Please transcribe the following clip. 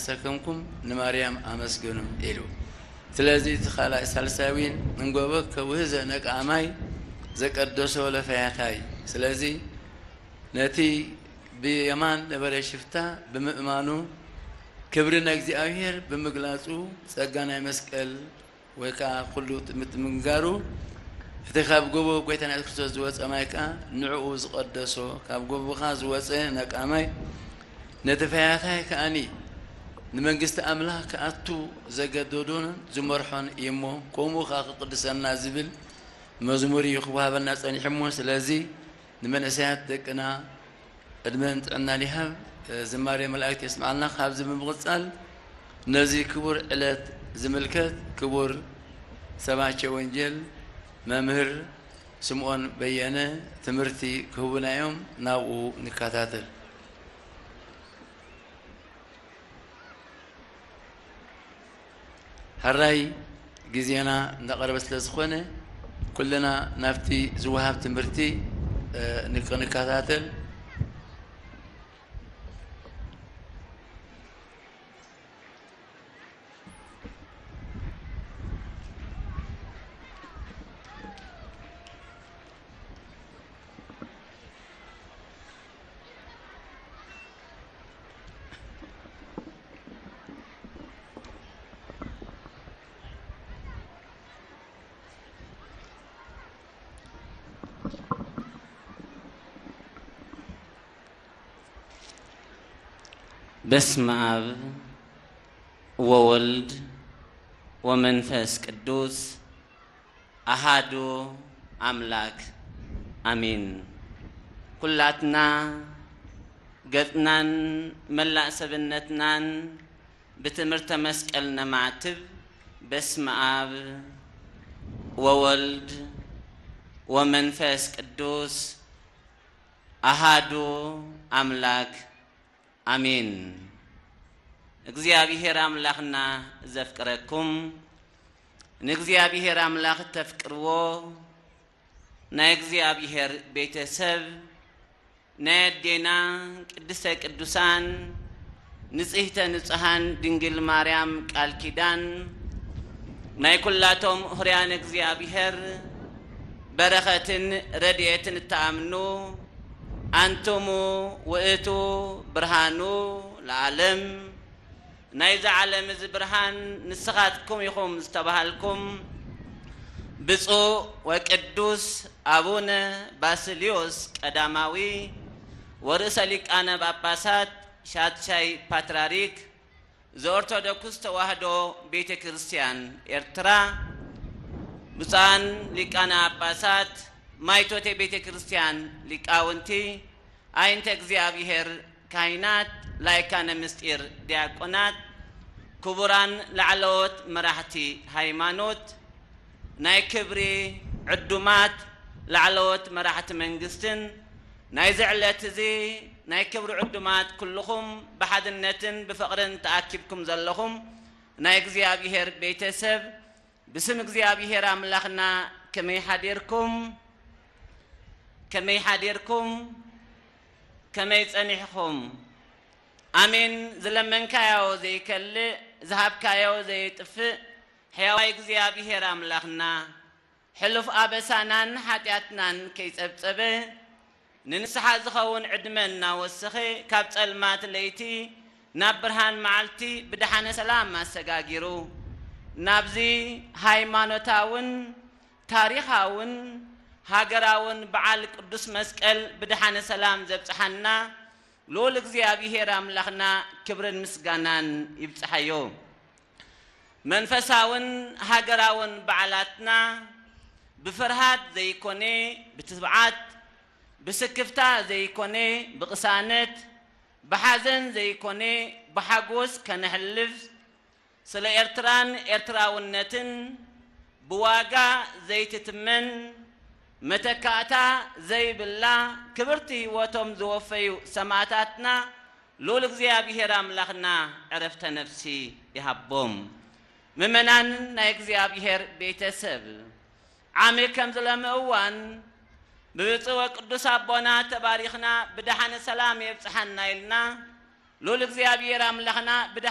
ሰከምኩም ንማርያም ኣመስግኑ ኢሉ። ስለዚ እቲ ካልኣይ ሳልሳይ እውን እንጎቦ ከውህዘ ነቃማይ ዘቀደሶ ለፈያታይ። ስለዚ ነቲ ብየማን ነበረ ሽፍታ ብምእማኑ ክብሪ ንእግዚኣብሔር ብምግላጹ ጸጋ ናይ መስቀል ወይ ከዓ ኩሉ ምትምንጋሩ እቲ ካብ ጎቦ ጎይታና የሱስ ክርስቶስ ዝወፀ ማይ ከዓ ንዕኡ ዝቐደሶ ካብ ጎቦኻ ዝወፀ ነቃማይ ነቲ ፈያታይ ከኣኒ ንመንግስቲ ኣምላኽ ክኣቱ ዘገደዶን ዝመርሖን እዩ እሞ ከምኡ ከዓ ክቅድሰና ዝብል መዝሙር እዩ ክወሃበና ፀኒሑ እሞ ስለዚ ንመንእሰያት ደቅና ዕድመን ጥዕናን ይሃብ። ዝማሬ መላእክት የስምዓልና። ካብዚ ብምቕጻል ነዚ ክቡር ዕለት ዝምልከት ክቡር ሰባኬ ወንጌል መምህር ስምዖን በየነ ትምህርቲ ክህቡና እዮም። ናብኡ ንከታተል። ሕራይ ግዜና እንዳቐረበ ስለ ዝኾነ ኩልና ናብቲ ዝወሃብ ትምህርቲ ክንከታተል። በስመ አብ ወወልድ ወመንፈስ ቅዱስ አሃዱ አምላክ አሜን። ኩላትና ገጽናን መላእ ሰብነትናን ብትምህርተ መስቀል ነማዕትብ። በስመ አብ ወወልድ ወመንፈስ ቅዱስ አሃዱ አምላክ አሜን። እግዚኣብሔር ኣምላኽና ዘፍቅረኩም፣ ንእግዚኣብሔር ኣምላኽ እተፍቅርዎ፣ ናይ እግዚኣብሔር ቤተሰብ፣ ናይ ኣዴና ቅድስተ ቅዱሳን ንጽህተ ንጹሃን ድንግል ማርያም ቃል ኪዳን፣ ናይ ኩላቶም ህርያን እግዚኣብሔር በረኸትን ረድኤትን እትኣምኑ፣ ኣንትሙ ውእቱ ብርሃኑ ለዓለም፣ ናይዚ ዓለም እዚ ብርሃን ንስኻትኩም ኢኹም ዝተባሃልኩም፣ ብፁዕ ወቅዱስ ኣቡነ ባስልዮስ ቀዳማዊ ወርእሰ ሊቃነ ጳጳሳት ሻድሻይ ፓትርያርክ ዘኦርቶዶክስ ተዋህዶ ቤተ ክርስቲያን ኤርትራ፣ ብፁዓን ሊቃነ ጳጳሳት፣ ማይቶቴ ቤተ ክርስቲያን ሊቃውንቲ፣ ኣይንተ እግዚኣብሔር ካህናት፣ ላይካነ ምስጢር ዲያቆናት፣ ክቡራን ላዕለዎት መራሕቲ ሃይማኖት፣ ናይ ክብሪ ዕዱማት ላዕለዎት መራሕቲ መንግስትን ናይዚ ዕለት እዚ ናይ ክብሪ ዕዱማት ኩልኹም ብሓድነትን ብፍቕርን ተኣኪብኩም ዘለኹም ናይ እግዚኣብሔር ቤተሰብ ብስም እግዚኣብሔር ኣምላኽና ከመይ ሓዲርኩም? ከመይ ሓዲርኩም? ከመይ ጸኒሕኹም? ኣሜን። ዝለመንካዮ ዘይከልእ፣ ዝሃብካዮ ዘየጥፍእ፣ ሕያዋይ እግዚኣብሔር ኣምላኽና፣ ሕሉፍ ኣበሳናን ሓጢኣትናን ከይጸብጸበ፣ ንንስሓ ዝኸውን ዕድመ እናወሰኸ፣ ካብ ጸልማት ለይቲ ናብ ብርሃን መዓልቲ ብደሓነ ሰላም ኣሰጋጊሩ፣ ናብዚ ሃይማኖታውን ታሪኻውን ሃገራውን በዓል ቅዱስ መስቀል ብደሓነ ሰላም ዘብጽሓና ልኡል እግዚኣብሔር ኣምላኽና ክብርን ምስጋናን ይብጽሓዮ። መንፈሳውን ሃገራውን በዓላትና ብፍርሃት ዘይኮነ ብትብዓት፣ ብስክፍታ ዘይኮነ ብቕሳነት፣ ብሓዘን ዘይኮነ ብሓጎስ ከነሕልፍ፣ ስለ ኤርትራን ኤርትራውነትን ብዋጋ ዘይትትመን መተካእታ ዘይብላ ክብርቲ ህይወቶም ዝወፈዩ ሰማእታትና ልኡል እግዚኣብሔር ኣምላኽና ዕረፍተ ነፍሲ ይሃቦም። ምእመናን ናይ እግዚኣብሔር ቤተሰብ፣ ዓሚ ከም ዝለሚ እዋን ብብፁዕ ወቅዱስ ኣቦና ተባሪኽና ብደሓነ ሰላም የብጽሓና ኢልና ልኡል እግዚኣብሔር ኣምላኽና ብደ